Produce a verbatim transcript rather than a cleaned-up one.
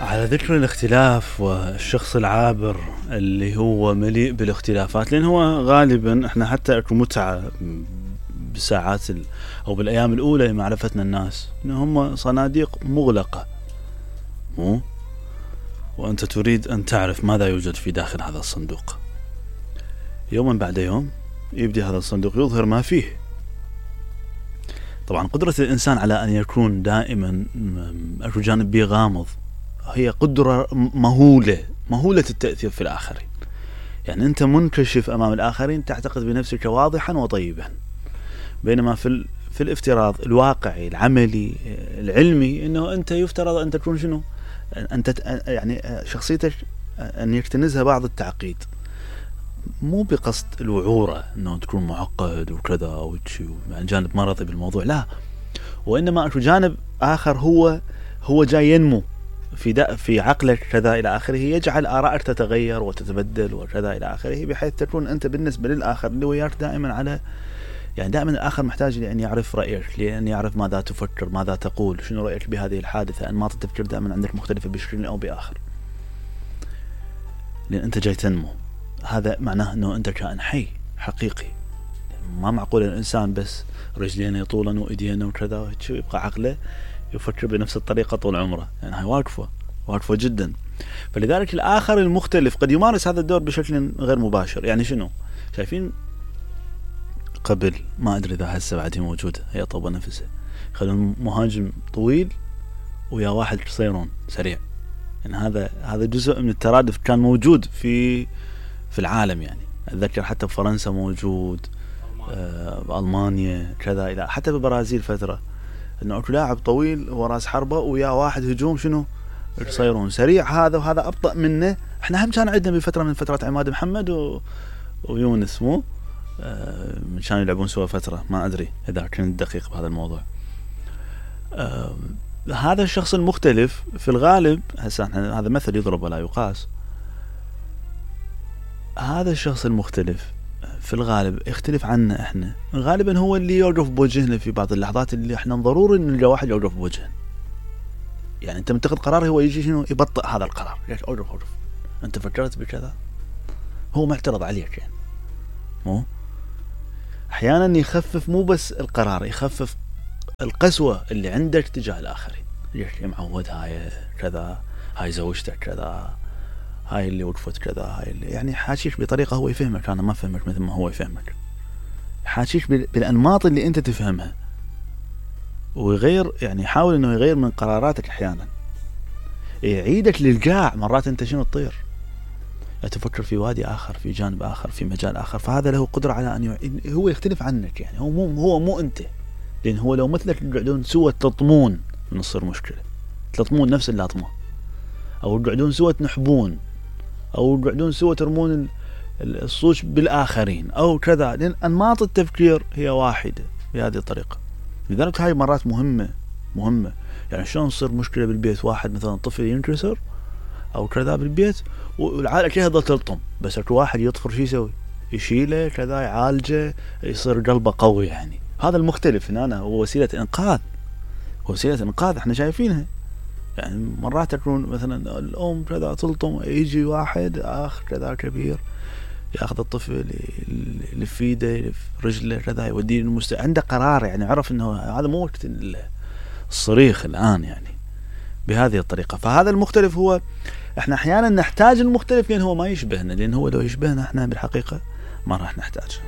على ذكر الاختلاف والشخص العابر اللي هو مليء بالاختلافات، لأن هو غالبا احنا حتى اكو متعة بساعات ال... او بالايام الاولى لمعرفتنا الناس ان هم صناديق مغلقة، مو وانت تريد ان تعرف ماذا يوجد في داخل هذا الصندوق. يوما بعد يوم يبدي هذا الصندوق يظهر ما فيه. طبعا قدرة الانسان على ان يكون دائما اكو جانب بيه غامض هي قدرة مهولة مهولة التأثير في الآخرين. يعني أنت منكشف أمام الآخرين، تعتقد بنفسك واضحا وطيبا، بينما في في الافتراض الواقعي العملي العلمي أنه أنت يفترض أن تكون شنو؟ أنت يعني شخصيتك أن يكتنزها بعض التعقيد، مو بقصد الوعورة أنه تكون معقد وكذا أو شيء يعني جانب مرضي بالموضوع، لا، وإنما أكو جانب آخر هو هو جاي ينمو في في عقلك كذا إلى آخره، يجعل آرائك تتغير وتتبدل وكذا إلى آخره، بحيث تكون أنت بالنسبة للآخر اللي وياك دائما على يعني دائما الآخر محتاج لأن يعرف رأيك، لأن يعرف ماذا تفكر، ماذا تقول، شنو رأيك بهذه الحادثة. أنماط التفكير دائما عندك مختلفة بشكل أو بآخر، لأن أنت جاي تنمو. هذا معناه أنه أنت كائن حي حقيقي. ما معقول الإنسان بس رجلين يطولا وإيدينا وكذا يبقى عقله يفكر بنفس الطريقة طول عمره، يعني هاي واقفة واقفة جدا. فلذلك الآخر المختلف قد يمارس هذا الدور بشكل غير مباشر. يعني شنو؟ شايفين قبل، ما أدري إذا هسه بعد هي موجودة، هي طوبة نفسه، خلون مهاجم طويل ويا واحد قصيرون سريع. يعني هذا هذا جزء من الترادف كان موجود في في العالم. يعني أتذكر حتى بفرنسا موجود، آه بألمانيا كذا، إلى حتى بالبرازيل فترة، انه اكو لاعب طويل هو راس حربة ويا واحد هجوم شنو قصيرون سريع، هذا وهذا ابطأ منه. احنا هم كان عندنا بفترة من فترات عماد محمد و... ويونس، مو آه كانوا يلعبون سوا فترة، ما ادري اذا كنت دقيق بهذا الموضوع. آه هذا الشخص المختلف في الغالب، هسه هذا مثل يضرب ولا يقاس، هذا الشخص المختلف في الغالب يختلف عنا احنا، غالبا هو اللي يوقف بوجهنا في بعض اللحظات اللي احنا ضروري ان نلقى واحد يوقف بوجهنا. يعني انت متخذ قرار، هو يجي شنو يبطئ هذا القرار، ليش اوقف اوقف انت فكرت بكذا، هو معترض عليك. يعني مو احيانا يخفف مو بس القرار، يخفف القسوة اللي عندك تجاه الاخرين. ليش معود هاي كذا، هاي زوجتك كذا، هاي اللي وقفت كذا، هاي اللي يعني حاشيك بطريقة هو يفهمك، أنا ما فهمك مثل ما هو يفهمك، حاشيك بالأنماط اللي أنت تفهمها، ويغير يعني يحاول إنه يغير من قراراتك أحيانا، يعيدك للقاع. مرات أنت شنو تطير، تفكر في وادي آخر، في جانب آخر، في مجال آخر. فهذا له قدرة على أن ي... هو يختلف عنك. يعني هو مو هو مو أنت، لأن هو لو مثلك يقعدون سوى تلطمون من تصير مشكلة، تلطمون نفس اللطمة، أو يقعدون سوى تنحبون، أو يقعدون سوى ترمون الصوش بالآخرين أو كذا، لأن أنماط التفكير هي واحدة بهذه الطريقة. لذلك هاي مرات مهمة مهمة. يعني شلون تصير مشكلة بالبيت، واحد مثلا طفل ينكسر أو كذا بالبيت والعائلة كلها تظل تلطم، بس اكو واحد يطفر شو يسوي، يشيله كذا، يعالجه، يصير قلبه قوي. يعني هذا المختلف هنا هو وسيلة إنقاذ، وسيلة إنقاذ احنا شايفينها. يعني مرات تكون مثلا الأم كذا تلطم، يجي واحد آخر كذا كبير ياخذ الطفل يلف في يده يلف رجله كذا يوديه للمستشفى، عنده قرار. يعني عرف انه هذا مو وقت الصريخ الآن، يعني بهذه الطريقة. فهذا المختلف هو احنا احيانا نحتاج المختلف لأن هو ما يشبهنا، لأن هو لو يشبهنا احنا بالحقيقة ما راح نحتاج.